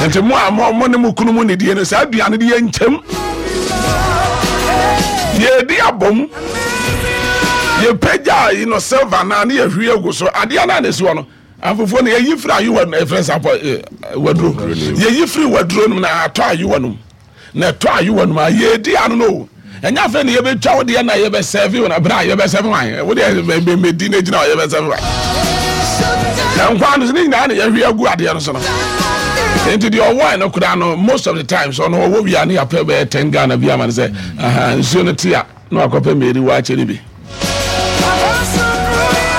Nti mo a mo ne mo kunu mu nidie no, saa aduane de yɛ nkyɛm. Yɛdi abom. Yɛpagya yi no silver naa ne yɛhwie agu so. Adeɛ no a na ɛsi hɔ no, afufuo no yɛyi firi ayewa no, ɛfrɛ sɛ apɔ waduro. Yɛyi firi waduro no mu na atɔ ayewa no mu. Na ɛtɔ ayewa no mu a yɛdi ano no o. Ɛnyɛ afei na yɛbɛtwa wo deɛ na yɛbɛsɛve wo na berɛ a yɛbɛsɛve wan wo deɛ mɛdi no gyina hɔ yɛbɛsɛve wan na nkwa no so ne nyinaa na yɛhwe agu adeɛ no so no nti deɛ ɔwɔ no koraa no most of the time so ɔno ɔwɔ wia ne yɛapɛ bɛyɛ 10 Ghana bi ama no sɛ aha nsuo no te a na wakɔpɛ mary wakyɛ no bi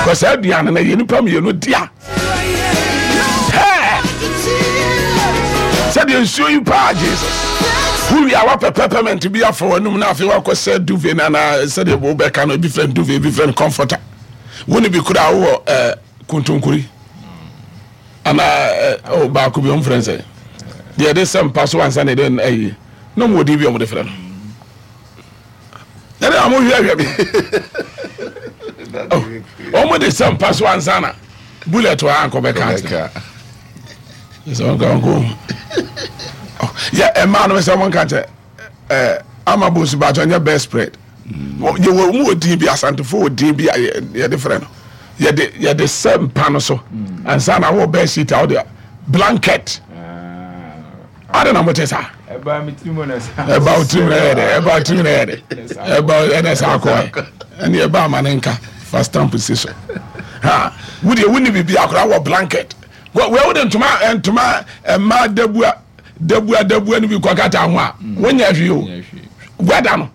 kɔ saa aduane no yɛ nipa mmienu dea. Sɛdeɛ nsuo yi paa Jesus wowie a wapɛ peppermint bi afa w'anum na afei wakɔ sɛ duvet no anaa sɛdeɛ wobɛka no ebi frɛ no duvet ebi frɛ no comforter wo ne bi koraa wowɔ eh, kontonkori anaa eh, oh, baako bi ɔmfrɛ no sɛ deɛ ɛde sɛ mpa so ansa na ɛde ayi na ɔmwɔ din bi ɔmde frɛ no ɛne a mohwɛhwɛ me ɔmo de sɛ mpa so ansa na bullet wɔ ankɔ bɛka akyerɛ sɛ ɔnka ɔnkɔ yɛ ɛmaa no sɛ ɔmo nka kyɛ ɛɛ ama bonsu baatɔ nyɛ best spread yɛ wɔ ɔmo wɔ din bi asantefo wɔ din bi a yɛde frɛ no yɛde yɛde sɛ mpa no so ansa na wɔ bed sheet a wɔde blanket. Adɛn na mote saa? Ɛbaa me tirim na saa. Ɛbaa wo tirim na ɛyɛ dɛ. Ɛbaa wo tirim na ɛyɛ dɛ. Ɛbaa ɛna saa kɔɛ. Ɛne ɛbaa ama ne nka fa stamp si so. Ha wo deɛ wonni biribi akora wɔ blanket. Wɔ wɔ wode ntoma ntoma mmaa dabua dabua dabua no bi kɔkata ho a wonyɛ hwee o. Wɛda no.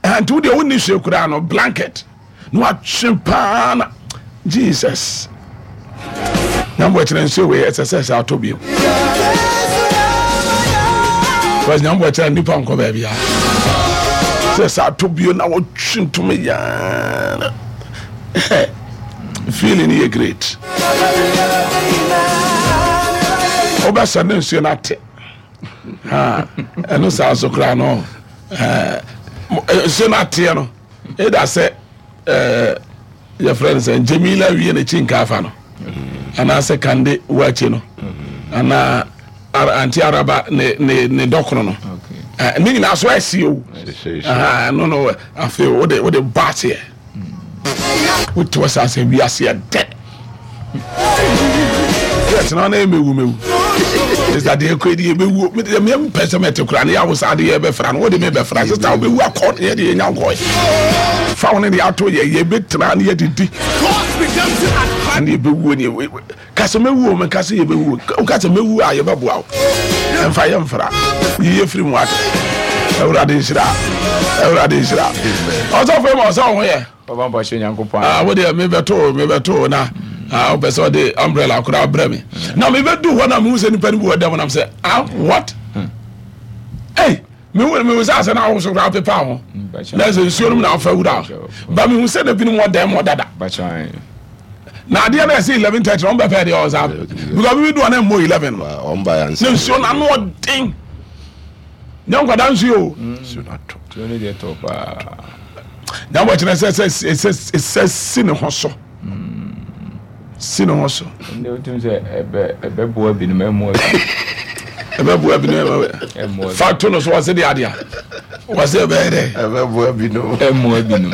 Nti wo deɛ wonni hwee koraa no blanket na watwe paa na Jesus na mbɔ kyerɛ nsuo wei ɛsɛ sɛ sɛ atɔ bio because na mbɔ kyerɛ nipa nkɔ baabi a sɛ sɛ atɔ bio na wɔtwe ntoma yaa na feeling yɛ great wobɛsɛ ne nsuo no ate ɛno saa so koraa no nsuo no ateɛ no ɛda sɛ yɛfrɛ no sɛ Jamila wie n'akyi nkaafa no anaasɛ Kande wakyi no anaa anti araba ne ne ne dɔkono no ne nyinaa so ɛsi o no no afei wode wode bɔ aseɛ Wote hɔ saa sɛ wiase ɛdɛ. Yɛtena na ɛmɛwu mɛwu. Sista deɛ ɛkɔ deɛ ɛbɛwu. Medeɛ mempɛ sɛ mɛte koraa ne yɛawo saa deɛ yɛbɛfra no wode mebɛfra. Sista wobɛwu akɔ ne yɛde yɛnya nkɔe. Fa wo ne deɛ ato yɛ yɛbɛtena ne yɛdidi. Ɛne yɛbɛwuo ne Ka sɛ mɛwu o, menka sɛ yɛbɛwu o. Woka sɛ mɛwu a yɛbɛboa wo. Ɛmfa yɛ mfra. Yi yɛ firi mu ate. Awurade nhyira. Awurade nhyira. Ɔsɔfo ma ɔsɛ ɔho yɛ. Papa mpa hyɛ Nyankopɔn. Ah, wo deɛ mebɛto mebɛto na ah, wopɛ sɛ ɔde umbrella koraa brɛ me. Na mebɛdu hɔ na mehu sɛ nipa no bi wɔ dɛm nam sɛ ah what? Hey, mehu mehu sɛ asɛ na ahosuo koraa pepa ho. Na sɛ nsuo no mu na afa wura. Ba mehu sɛ na binom wɔ dɛm hɔ dada. Na adeɛ no ɛsɛ 11:30 na ɔmbɛpɛ deɛ ɔsa because bibi do ɔna mmɔ 11 no na nsuo no ano ɔden nyɛ nkwadaa nsuo o na bɔ kyerɛ sɛ sɛ sɛ sɛ si ne ho so si ne ho so. Ɛbɛboa binom ɛmmoa bi. Ɛbɛboa binom ɛmmoa. Fa to no so wɔsi de adeɛ wɔsi ɛbɛyɛ dɛ. Ɛbɛboa binom ɛmmoa binom.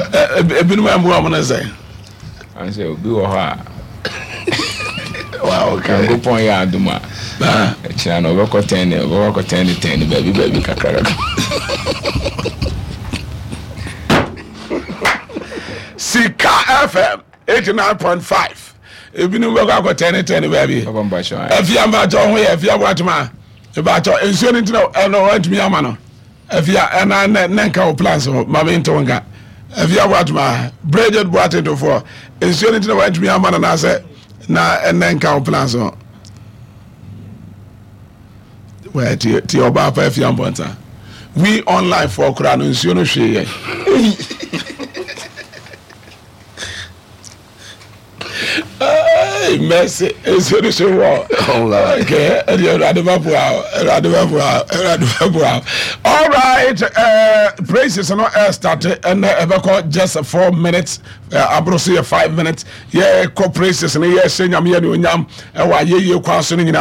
Ebinom ɛmmoa wɔn ne sɛ. Ɔn sɛ obi wɔ hɔ a Nyankopɔn yɛ adom a ɛkyina no ɔbɛkɔ tɛn ne ɔbɛkɔ akɔ tɛn ne tɛn ne baabi baabi kakra kakra. Sika FM 89.5 ebinom bɛkɔ akɔ tɛn ne tɛn ne baabi. Afia mpakyɛ ho yɛ afia boatema mpakyɛ nsuo no ntina ɛno wantumi ama no. Afia ɛna nɛ nɛ nka wo plans ho ma me ntew nka. Afia Boatema, Bridget Boateng tofoɔ, nsuo no nti na wantumi ama no naasɛ na ɛnɛ nka wo plans ho. Wɛ tie tie ɔbaa pa Afia Mpɔnsa. We online foɔ koraa no nsuo no hwee yɛn. Hey, mercy. Nsuo no so wɔ. Okay, ɛdi Awurade bɛ boa o. Awurade bɛ boa o. Awurade bɛ boa o. All right, praises no start ɛnɛ ɛbɛkɔ just 4 minutes. Aboro so yɛ 5 minutes. Yɛ kɔ praises no yɛ hyɛ Nyame yɛ ne onyam ɛwɔ ayɛyie kwan so no nyinaa.